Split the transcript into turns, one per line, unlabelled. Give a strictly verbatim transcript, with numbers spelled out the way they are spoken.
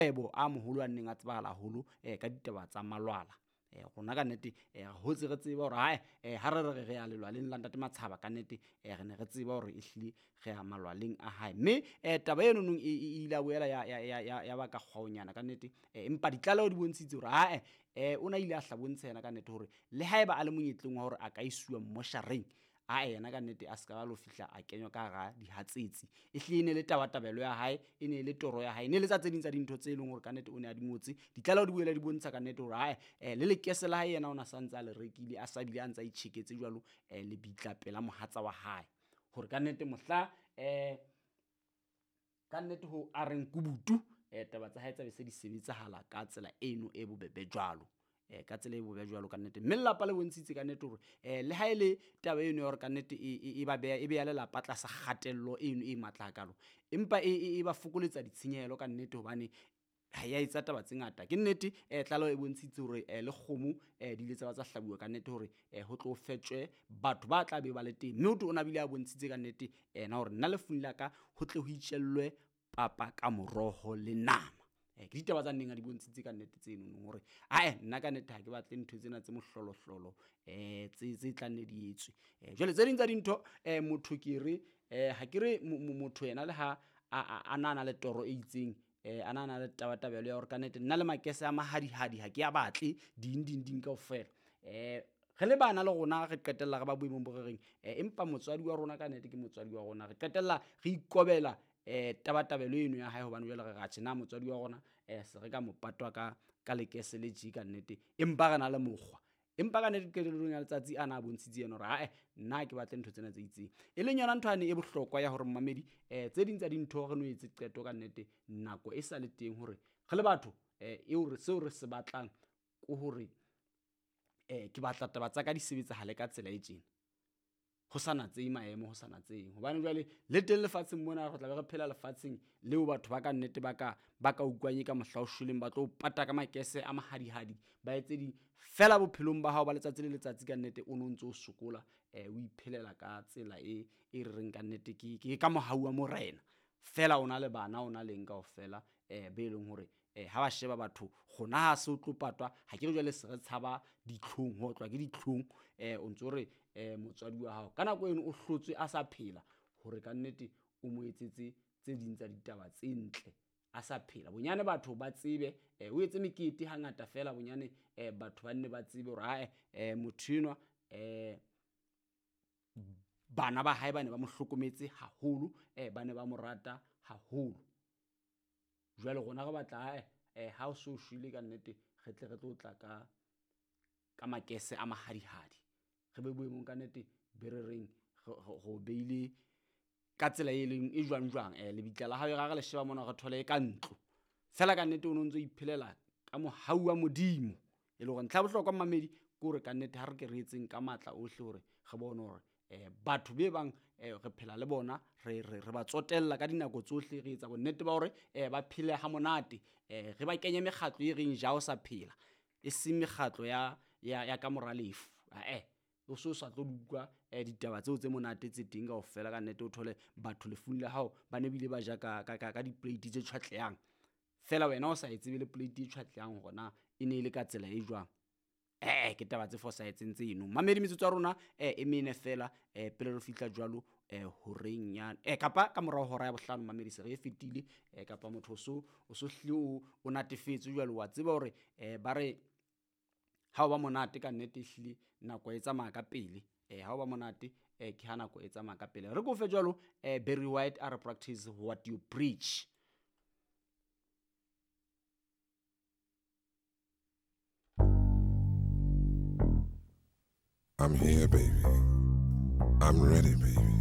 Kgwebo a moholo a neng a tsebahala haholo eh, ka ditaba tsa malwala. Eh, rona ka nnete eh, re hotse re tseba hore hae eh, ha re re re ya lelwaleng la ntate Matshaba ka nnete eh, re ne re tseba hore ehlile re ya malwaleng a hae. Mme eh, taba eno nong e e ile ya boela ya, ya, ya, ya, ya baka kgwaonyana ka nnete eh, empa ditlaleho di bontshitse hore hae eh, o na ile a hla bontsha yena ka nnete hore le haeba a le monyetleng wa hore a ka isuwa mmoshareng, ae yena ka nnete a ska ba lo fihla a kenywa ka hara dihatsetsi. Ehlile e ne le tabatabelo ya hae, e ne le toro ya hae, e ne le tsa tse ding tsa dintho tse leng hore ka nnete o ne a di ngotse. Ditlaleho di boela di bontsha ka nnete hore ae eh, le lekese la hae yena o na sa ntse a le rekile, a sa bile a ntsa itjheketse jwalo eh, lebitla pela mohatsa wa hae. Hore ka nnete mohla eh, ka nnete ho a reng kubutu eh, taba tsa hae tsa be se di sebetsahala ka tsela eno e bobebe jwalo. Eh, ka tsela e bobebe jwalo ka nnete. Mme lelapa le bontshitse ka nnete hore eh, le ha e le taba eno ya hore ka nnete e, e, e ba beha, e beha lelapa tlasa kgatello eno e matla hakalo, empa e, e, e ba fokoletsa ditshenyehelo ka nnete hobane ha ya etsa taba tse ngata. Ke nnete eh, tlaleho e bontshitse hore eh, le kgomo eh, di ile tsa ba tsa hlabuwa ka nnete hore eh, ho tlo fetjwe batho ba tla be ba le teng. Mme ho thwe o na bile a bontshitse ka nnete ena hore nna lefung la ka ho tle ho itjellwe papa ka moroho le nama. Eh, ke ditaba tsa nneng a di bontshitse ka nnete tse nonong hore ae nna ka nnete ha ke batle ntho tsena tse mohlolohlolo eh, tse, tse tla nne di etswe. Eh, jwale tse ding tsa dintho eh, motho ke re eh, ha ke re mo-, mo-, motho yena le ha a, a, a na na le toro e itseng eh, a na na le tabatabelo ya hore ka nnete nna le makese a mahadihadi ha ke a batle ding ding ding kaofela. Eh, re le bana le rona re qetella re ba boemong bo re reng eh, empa motswadi wa rona ka nnete ke motswadi wa rona, re qetella re ikobela eh, tabatabelo eno ya hae hobane jwale re re atjhe na motswadi wa rona eh, se re ka mo patwa ka, ka lekese le tje ka nnete, empa re na le mokgwa. Empa ka nnete qetellong ya letsatsi ana a bontshitse yena hore ae nna ha ke batle ntho tsena tse itseng. E leng yona ntho yane e bohlokwa ya hore mmamedi eh, tse ding tsa dintho re no etse qeto ka nnete nako e sa le teng hore re le batho eh, eo re, seo re se batlang ke hore eh, ke batla taba tsa ka di sebetsahale ka tsela e tjena. Ho sa natsehe maemo, ho sa natsehe. Hobane jwale le teng lefatsheng mona re tla be re phela lefatsheng leo batho ba ka nnete ba ka, ba ka utlwang e ka mohla o shweleng, ba tlo o pata ka makese a mahadihadi, ba etse di fela bophelong ba hao ba letsatsi le letsatsi ka nnete o no ntso o sokola eh, o iphelela ka tsela e, e re reng ka nnete ke, ke ka mohau wa morena. Fela o na le bana, o na le eng kaofela eh, be leng hore eh, ha ba sheba batho rona ha se o tlo patwa, ha ke re jwale se re tshaba ditlhong, ho otlwa ke ditlhong eh, o ntso re eh, motswadi wa hao ka nako eno o hlotswe a sa phela hore ka nnete o mo etsetse tse ding tsa ditaba tse ntle a sa phela. Bonyane batho ba tsebe eh, o etse mekete hangata fela bonyane eh, batho ba nne ba tsebe hore ae eh, motho enwa eh, bana ba hae ba ne ba mo hlokometse haholo eh, ba ne ba mo rata haholo. Jwale rona re batla ae eh, ha o so shwele ka nnete re tle re tlo tla ka, ka makese a mahadihadi, re be boemong ka nnete be re reng re, re, re o beile ka tsela e leng e jwang jwang eh, lebitla la hao e ra re le sheba mona re thole e ka ntlo fela ka nnete o no ntso iphelela ka mohau wa Modimo. E le hore ntlha ya bohlokwa mmamedi ke hore ka nnete ha re ke re etseng ka matla ohle hore re bone hore eh, batho be bang eh, re phela le bona, re, re, re ba tsotella ka dinako tsohle, re etsa bonnete ba hore eh, ba phele ha monate eh, re ba kenye mekgatlo e reng ja o sa phela, e seng mekgatlo ya, ya, ya ka mora lefu. Ae, o so sa tlo utlwa eh, ditaba tseo tse monate tse teng kaofela ka nnete o thole batho lefung la hao ba ne bile ba ja ka, ka, ka, ka diplate tse tjhwatlehang fela wena o sa e tsebe le plate e tjhwatlehang hore na e ne e le ka tsela e jwang. Eh, ke taba tse fosahetseng tseno. Mamedi metsotso ya rona eh, e mene fela eh, pele re fihla jwalo eh, horeng ya eh, kapa ka morao hora ya bohlano mamedi se re e fetile eh, kapa motho o so, o so hlile o, o natefetswe jwalo, wa tseba hore eh, ba re ha o ba monate ka nnete ehlile nako e tsamaya ka pele eh, ha o ba monate eh, ke ha nako e tsamaya ka pele. Re kofe jwalo eh, Barry White a re practice what you preach.
I'm here, baby. I'm ready, baby.